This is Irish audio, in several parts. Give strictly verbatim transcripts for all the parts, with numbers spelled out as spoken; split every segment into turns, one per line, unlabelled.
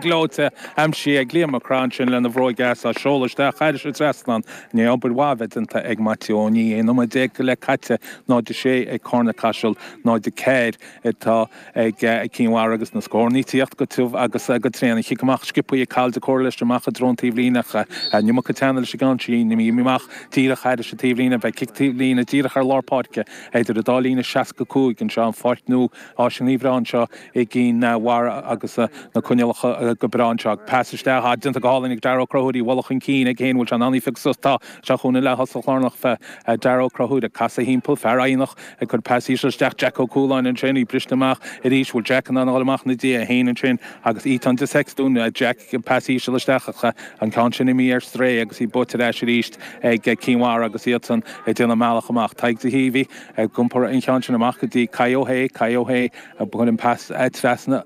Gleoite aimsithe ag Liam Mac Craith ansin lena bhróig dheas á seoladh isteach thairis an trasnán. Ní obair mhaith a bheith déanta ag Maitiú Ó Nia. Aon nóiméad déag go leith caite, náid a sé ag Carna Caiseal, náid a ceathair atá ag Cinn Mhara agus na scóranna ag tíocht go tiubh agus go tréan. An chic amach sciobtha ag Cathal de Córa leis amach i dtreo an taobhlíne ach an iomarca teanna leis an gceann sin. Imithe amach díreach thairis an taobhlíne. Beidh cic taobhlíne díreach ar lár páirce idir an dá líne seasca cúig anseo, an pháirc nua áiseanna bhreá anseo i gCinn Mhara agus na coinníollacha go breá anseo. Pas isteach déanta go hálainn ag Darragh Ó Conchúir, í a bhualadh chun cinn aige féin, bhfuil sé in ann í a phiocadh suas? Tá. Seo chugainn an leath-thosach lárnach fé Darragh Ó Conchúir ag casadh thimpeall, fear Eidhneach ag cur pas íseal isteach, Jack Ó Cualáin ansin, í briste amach arís, bhfuil Jack in ann a dhul amach ina diaidh, é féin ansin agus Ethan de Sextún, Jack pas íseal isteach ach an ceann sin imithe ar strae agus í buaite ar ais arís ag Cinn Mhara agus iadsan ag déanamh a mbealach amach. Tadhg de hÍomhaí ag iompar an cheann sin amach go dtí Kai Ó hAodha, Kai Ó hAodha ag cur an pas trasna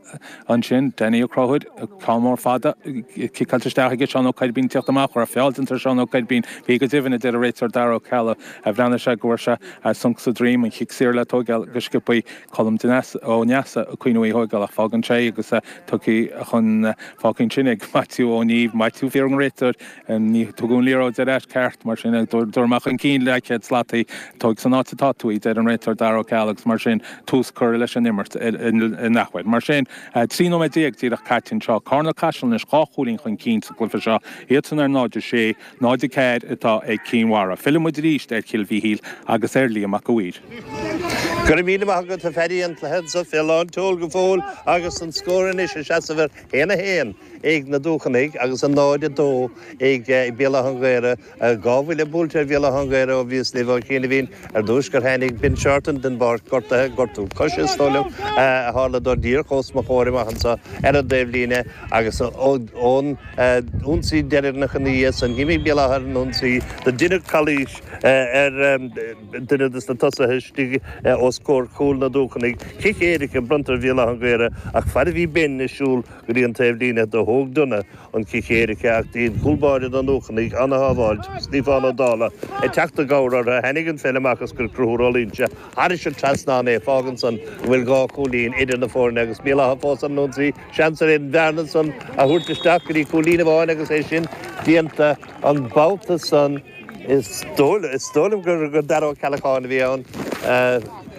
ansin, Danny Ó Conchúir, ceann mór fada ciceáilte isteach aige, Seán Ó Coirbín ag tíocht amach, raibh feall déanta ar Seán Ó Coirbín, bhí go deimhin, a deir an réiteoir Dara Ó Ceallaigh. Bhreathnaigh sé go bhfuair sé sonc sa droim, an chic saor le tóigeáil go sciobthaí, Colm Ó Neasa ag cuimhniú í a thóigeáil ach fágann sé agus tugtha chun fágtha ansin ag Maitiú Ó Nímh, Maitiú fiafraíonn an réiteoir, ní tugadh an liathróid ar ais ceart, mar sin tabhair amach chun cinn leathchéad slat í, tóig san áit atá tú í, deir an réiteoir Dara Ó Ceallaigh agus mar sin tús curtha leis an imirt in athuair. Mar sin, trí nóiméad déag díreach caite anseo, Carna Caiseal anois dhá chúilín chun cinn sa gcluiche seo, iadsan ar náid a sé, náid a ceathair atá ag Cinn Mhara. Filleann muid arís ar Chill Mhichíl agus ar Liam Mac a' Mhaoir.
Go raibh míle maith agat a Phaddy, an cluiche anseo fé lán tseoil go fóill agus an scór anois ag seasamh ar haon a haon ag na Dúchanaigh agus a náid a dó ag Béal Átha an Ghaorthaidh. Dhá bhuille buailte ar Bhéal Átha an Ghaorthaidh ó bhíos libh ó chianaibhín. Ar dtús gur tháinig Ben Shorten den bpáirc gortaithe, gortú coise is dóigh liom, a tharla dó díreach os mo chomhair amach anseo ar an dtaobhlíne agus ón ionsaí deireanach ina dhiaidh san, d'imigh Béal Átha ar an ionsaí, do deineadh calaois ar duine de na tosaithe istigh os comhair chúl na Dúchanaigh. Cic éirice bronnta ar Bhéal Átha an Ghaorthaidh ach fad a bhí Ben ag siúl go dtí an taobhlíne do thóg Dunne an cic éirice ach dhein cúl báire na nDúchanaigh ana-shábháilt, Stiofán Ó Dálaigh, ag teacht i gcabhair orthu. Tháinig an pheil amach is chuir Conchúr Ó Loingsigh thairis an trasnán é. Fágann san go bhfuil dhá chúilín idir na foirne agus Béal Átha fós ar an ionsaí. Seans ar an bhearna san a thabhairt isteach go dtí cúilín amháin agus é sin déanta an babhta san. Is dóigh liom gur Dara Ó Ceallacháin a bhí ann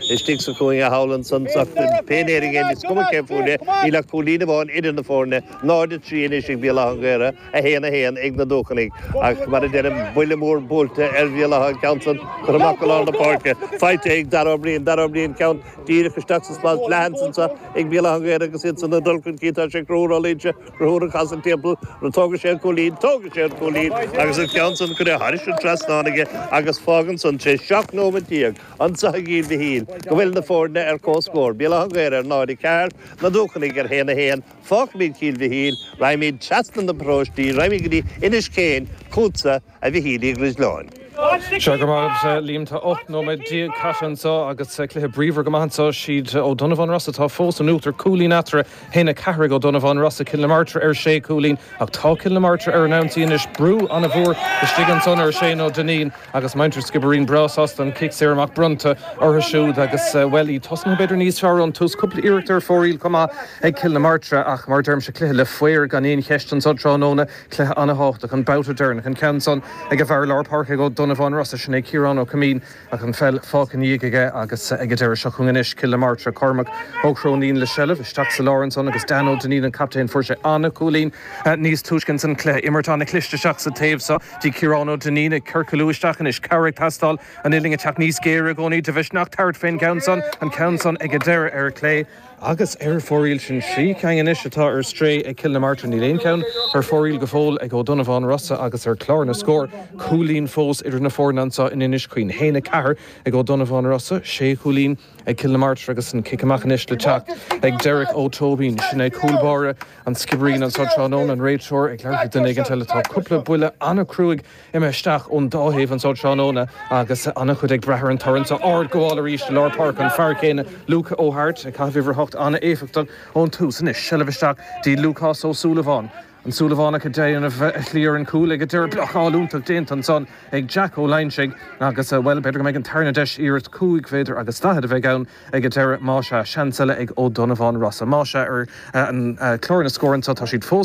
istigh sa chúinne thall ansan ach pé ar bith é, is cuma cé fuair é, níl ach cúilín amháin idir na foirne, náid a trí anois ag Béal Átha an Ghaorthaidh, a haon a haon ag na Dúchanaigh. Ach mar a deirim, buille mór buailte ar Bhéal Átha an ceann san curtha amach go lár na páirce, faighte ag Dara Ó Briain, Dara Ó Briain ceann díreach isteach sa spás leathan anso ag Béal Átha an Ghaorthaidh agus iad san ag dul chun cinn, tá sé ag Conchúr Ó Loingsigh, Conchúr ag casadh timpeall, an dtógfaidh sé an cúilín, tógfaidh sé an cúilín agus an ceann san curtha thairis an trasnán aige agus fágann san tar éis seacht nóiméad déag anso i gCill Mhichíl go bhfuil na foirne ar comhscór, Béal Átha an Ghaorthaidh ar náid a ceathair, Na Dúchanaigh ar haon a haon. Fágfaimid Cill Mhichíl, raghaimid trasna na bparóistí, raghaimid go dtí Inis Caoin, chugatsa, a Mhichíl Uí Dhrisleáin.
Sea, go raibh maith agat, Liam. Tá ocht nóiméad déag caite anseo agus cluiche bríomhar go maith anseo. Siad Ó Donnabháin Rosa atá fós in uachtar, cúilín eatarthu, haon a ceathair ag Ó Donnabháin Rosa, Cill na Martra ar sé chúilín. Ach tá Cill na Martra ar an ionsaí anois. Brú an-mhór istigh ansan ar Shane Ó Duinnín agus muintir Skibbereen breá sásta an cic saor amach bronnta orthu siúd agus, bhuel, iad tosnaithe b'fhéidir níos fearr ón tús. Cúpla iarracht ar fóraoil chomh maith ag Cill na Martra ach mar a deirimse, cluiche le faobhar gan aon cheist anso tráthnóna. Cluiche an-thábhachtach, an babhta deireanach, an ceann san ag an bhfear lár páirce ag Ó Donnabháin Rosa, sin é Ciarán Ó Coimín, ach an pheil fágtha ina dhiaidh aige agus ag an deireadh seo chugainn anois, Cill na Martra, Cormac Ó Cróinín le seilbh isteach sa lár ansan agus Dan Ó Duinnín an captaen, fuair sé an-chúilín níos túisce ins an cluiche, imirt an-chliste isteach sa taobh so dtí Ciarán Ó Duinnín ag ciorcalú isteach anois, cabhair ag teastáil, an uillinn ag teacht níos géire i gcónaí, de mhisneach tabhairt fén gceann san, an ceann san ag an deireadh ar clé. Agus ar fóraoil sin trí cinn anois atá ar strae ag Cill na Martra. Níl aon cheann ar fóraoil go fóill ag Ó Donnabháin Rosa agus ar chlár na scór, cúilín fós idir na foirne anseo in Inis Caoin. Haon a ceathair ag Ó Donnabháin Rosa, sé chúilín ag Cill na Martra agus an cic amach anois le teacht ag Derek Ó Tóibín. Sin é cúl báire an Sciobairín anseo tráthnóna, an réiteoir ag labhairt le duine éigin eile. Tá cúpla buille an-chruaidh imithe isteach ón dá thaobh anseo tráthnóna agus an-chuid ag brath ar an toradh anseo. Ardghabháil arís i lár páirce, an fear céanna, Luke Ó hAirt, ag caitheamh uimhir a hocht, an-éifeachtach ón tús. Anois, seilbh isteach dtí Lúcás Ó Súilleabháin. An Súilleabhánach ag déanamh a shlí ar an gcúl ag an deireadh blocáil iontach déanta ansan ag Jack Ó Loingsigh agus bhuel b'fhéidir go mbeidh an tarna deis iarracht cúig mhéadar agus daichead a bheidh ann ag an deireadh más ea seans eile ag Ó Donnabháin Rosa. Más ea ar an chlár na scór anseo tá siad fós